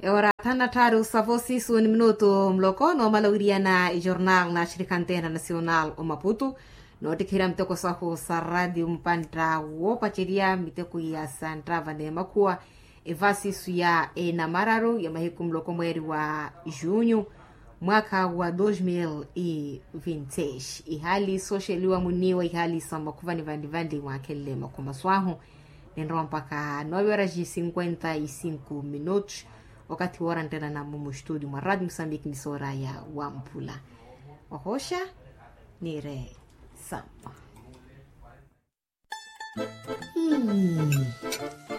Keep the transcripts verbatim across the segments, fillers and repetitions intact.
Ora thanu na tthaaru sa vosi suuni minutu muloko noomala owiriyana ejornal na axirikha anteena nasional omaputu. Noottikherya miteko sahu sa ratio mupantta woopacerya miteko ya santtava n'emakhuwa evasisu ya enamararu ya mahiku muloko mweeri wa junyu mwaakha wa dos mil e vinti seis. Ihaali sooxeliwa muniiwa ihaali sa makhuvani vanli vanli mwaakhenle makhumasu ahu. Ninrowa mpakha nove horas e cinquenta e cinco minutos. Okathi wooranttela namu mustudio mwa ratio musambiki misoora ya wamphula. Ohosha nire samma.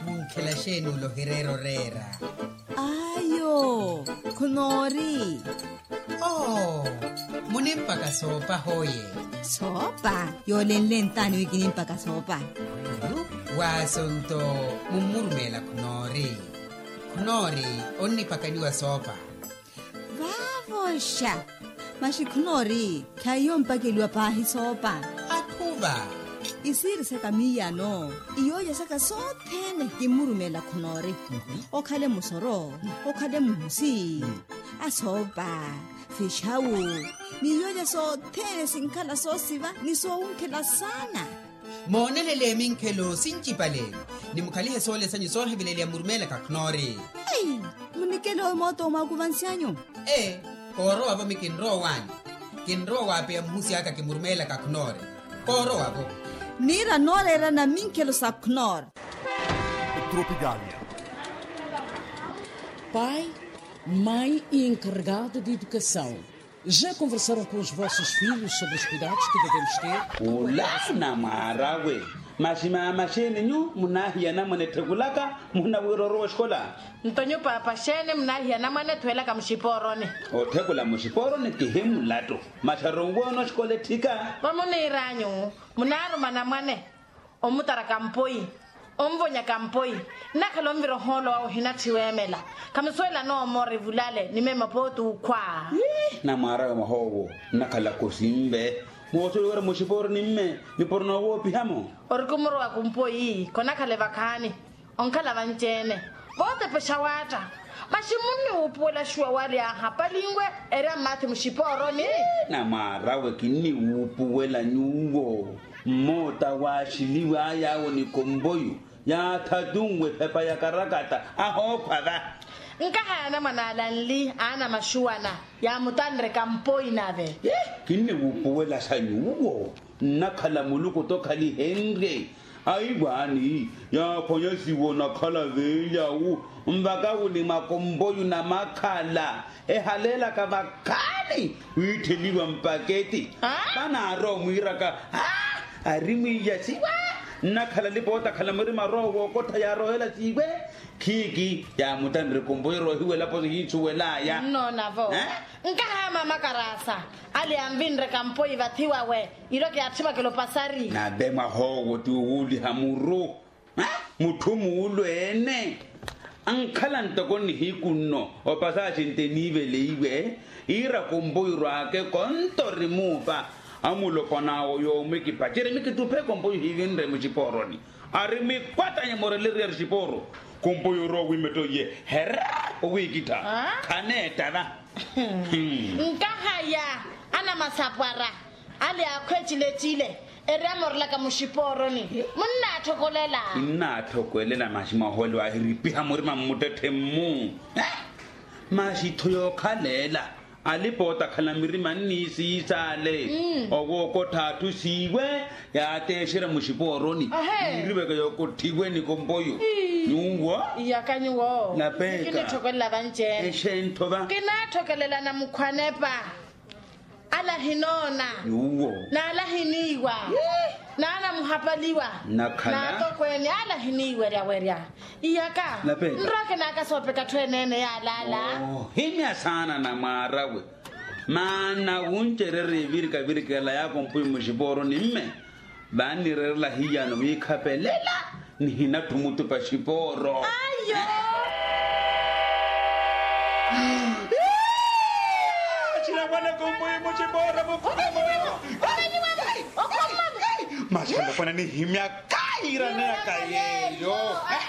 Munkhela xeeni ula ohireera oreera? Ayo, khunoori. Oh, munimpaka soopa hoye? Soopa? Yoolenle ntaani wi kinimpaka soopa? Waaso nto mummurumeela khunoori. Khunoori onnipakaniwa soopa. Vaavoxa. Maxi khunoori khaiyo mpakeliwa paahi soopa. Akhuva. Isiiri saka miiyano iyooja saka sothene kimmurumeela khunoori. Okhale musoro, okhale muhusi, asoopa, fixawu, ni iyooja sothene sinkhala soosiva ni soowunkhela saana. Moonelele minkhelo sincipale. Nimukhalihe soole sanyu soohivileliya murumeela kakhunoori. Ei, munikele oyo mooto omwakuvansi anyu. Ee, koorowavo mi kinrowa owaani. Kinrowa waapeya muhusi aka kimurumeela kakhunoori. Koorowavo. Niira nooreerana minkhelo sa khunoori. Tropicalia. Pai, mãe e encarregado de educação. Já conversaram com os vossos filhos sobre os cuidados que devemos ter? Ula namwaarawe. Maxi maama xeeni nyu munaahiya anamwane etthekulaka muhina wira orowa oxikola? Nto nyu paapa xeeni munaahiya anamwane ethuwelaka muxipooroni? Otthekula muxipooroni kihi mulattu. Maxaru onwoona oxikola etthika. Vamuniiranyu munaaruma anamwane omutaraka mpoyi, onvonya kampoi. Nnakhala onvira ohoolo wawe ohinatthi weemela. Khamusuwela noomoora evulale ni meema pooti ukhwa. Namwaarawe mwahoowo nnakhala kosinve. Moosuwela wira muxipooroni mme nipuro noowoopihamo. Ori kumurowa kumpoyi khonakhale vakhaani. Onkhala vanci-ene vootepexa waatta. Maxi munniwuupuwela xuwa wali aahapalinwe eri ammaathi muxipooroni. Namwaarawe kinniwuupuwela nyuwo. Mmoota waaxiliwe ayaawo ni kompoyu yaathatunwe ephepa ya karakata ahookhwa va. Nkahaya anamwane ala nli aana maxuwana yaamutanre kampoi nave. Kinniwuupuwela sa nyuwo. Nnakhala muluku tokhalihenrye. Aiwaani yaaphwanya siwo nakhala veelyawu. Nvaka wuli makompoyu na makhala ehaleelaka vakhaani wiittheliwa mpaketi. Vanaarowa omwiiraka ari mwiiya siwa. Nnakhala lipoota akhala murima aroowa wookottha yaarohela siwe. Khiiki yaamutanre kompoyu eroohiwelapo sihiisuwelaya. Nnoonavo. Nkaha maama karaasa ale yanvinre kampoi vathi wawe. Iro kiyaatthimwakela opasari. Nave mwahoowo ti owuuliha muru. Mutthu muulweene ankhala ntoko nnihiku nno opasaaxi nte eniiveleiwe. Iira kompoyu rwaake konto ori muupa. Amulopwana awo yoomwe kipacere mikituphe kompoyu hiivinre muxipooroni. Ari mikwatanye moreleriya xipooro. Kompoyu orowa wiimetta oye herra owiikittha. Khaneetta va. Nkahaya anamasapwara ale akhwe ecilecile eri amorelaka muxipooroni. Munnaatthokolela. Innaatthokwelela maxi mwahoole waahiripiha murima mmuttetthe-mmu. Maxi tho yookhalela alipoota akhala mirima nniisiisaale. Owookottha atthu siiwe yaateexerya muxipooroni. Yiiriweke yookotthiwe ni kompoyu. Nyuwo. Iyaka nyuwo. Napeka. Kinitthokelela vanci-ene. Exenttho va. Kinaatthokelela na mukhwanepa. Ala ahinoona. Nyuwo. N'ala ahiniiwa. N'ala amuhapaliwa. Nakhala. N'atokweene ala ahiniiweryawerya. Iyaka. Napeka. Nrowa kinaaka soopeka atthu eneene yaalaala. Ohimya saana namwaarawe. Maana wuncererya evirikavirika ela yaako mpuyu muxipooroni mme. Vaannireerela hiyano wiikhapelela nihinatthu mutupa xipooro. Ayo. Xinamwana kumpuyi muxipooro mukhulamo. Maxanapwana nihimya kairana yaka yeeyo.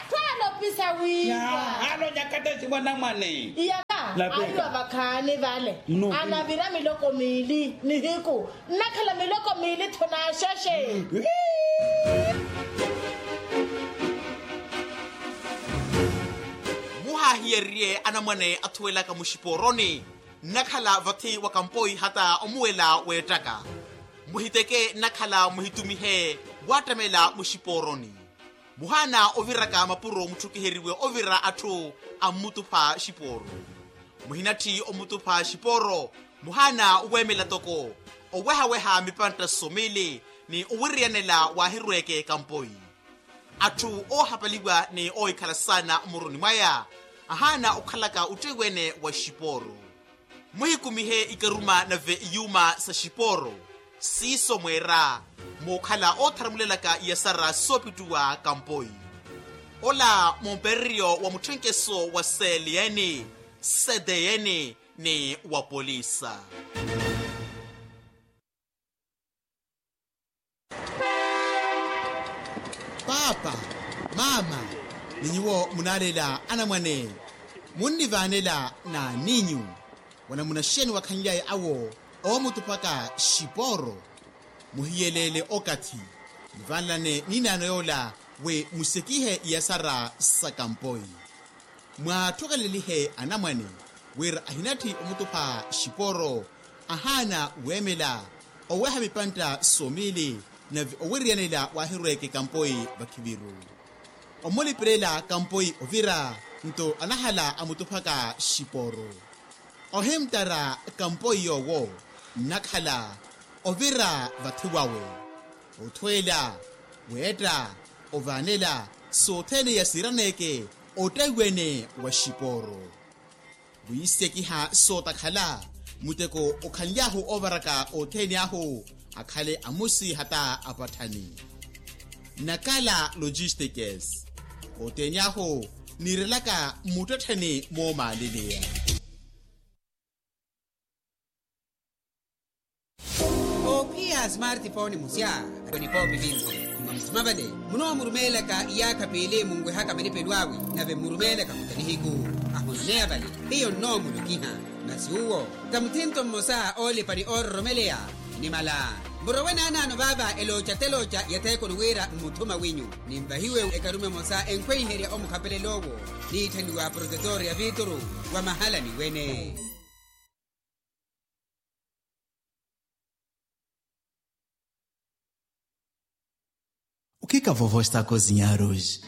Twalopisa wiiwa. Alonyaka. Mwanamwane. Iyaka. Ahiwa vakhaani vale. Anavira miloko miili nihiku. Nnakhala miloko miili tho naaxexe. Muhaahiyerye anamwane athuwelaka muxipooroni. Nnakhala vathi wa kampoi hata omuwela weettaka. Muhiteke nnakhala muhitumihe waattamela muxipooroni. Muhaana oviraka mapuro mutthukiheriwe ovira atthu ammutupha xipooro. Muhinatthi omutupha xipooro. Muhaana oweemela toko owehaweha mipantta somili ni owiriyanela waahirweeke kampoi. Atthu oohapaliwa ni oohikhala saana mmuruni mwaya ahaana okhalaka otteyi wene wa xipooro. Muhikumihe ikaruma nave iyuuma sa xipooro. Siiso mweera mookhala ootharamulelaka iyasara soopittuwa kampoi. Ola mumpereryo wa mutthenkeso wa seliyeni, sedeyeni ni wa polisa. Paapa, maama, ni nyuwo munaalela anamwane, munnivaanela n'aninyu. Wanamunaxeni wakhanly'aya awo oomutuphaka xipooro. Muhiyeleele okathi. Nivaanelane n'inaano yoola wi musekihe iyasara sa kampoi. Mwaattukelelihe anamwane wira ahinatthi omutupha xipooro. Ahaana weemela oweha mipantta somili nave owiriyanela waahirweeke kampoi vakhiviru. Omulipirela kampoi ovira nto anahala amutuphaka xipooro. Ohimttara kampoi yoowo nnakhala ovira vathi wawe. Othweela, weetta, ovaanela sothene iya siiraneke ottaiwene wa xipooro. Wiisekiha sootakhala muteko okhanly'ahu oovaraka othene ahu akhale amusi hata apatthani. Nakala logistikes. Othene ahu niirelaka mmuttettheni moomaaliliya. Oophiya smartphone musya. Onipoopipinsi. Mmamusima vale munoomurumeelaka iyaakha piili munwehaka malipelo awe nave mmurumeelaka kutanihiku. Ahononeya vale hiyo nnoomulukiha. Masi uwo tamuthinto mmosa oolipa ni oororomeleya. Nimala murowe naanaano vaava elooca telooca ya theekoni wira mmuthuma winyu. Ninvahiwe ekarume emosa enkhweiherya omukhapelel'owo niitthaniwa protetor ya vituru wa mahalani wene. O que que a vovó está a cozinhar hoje?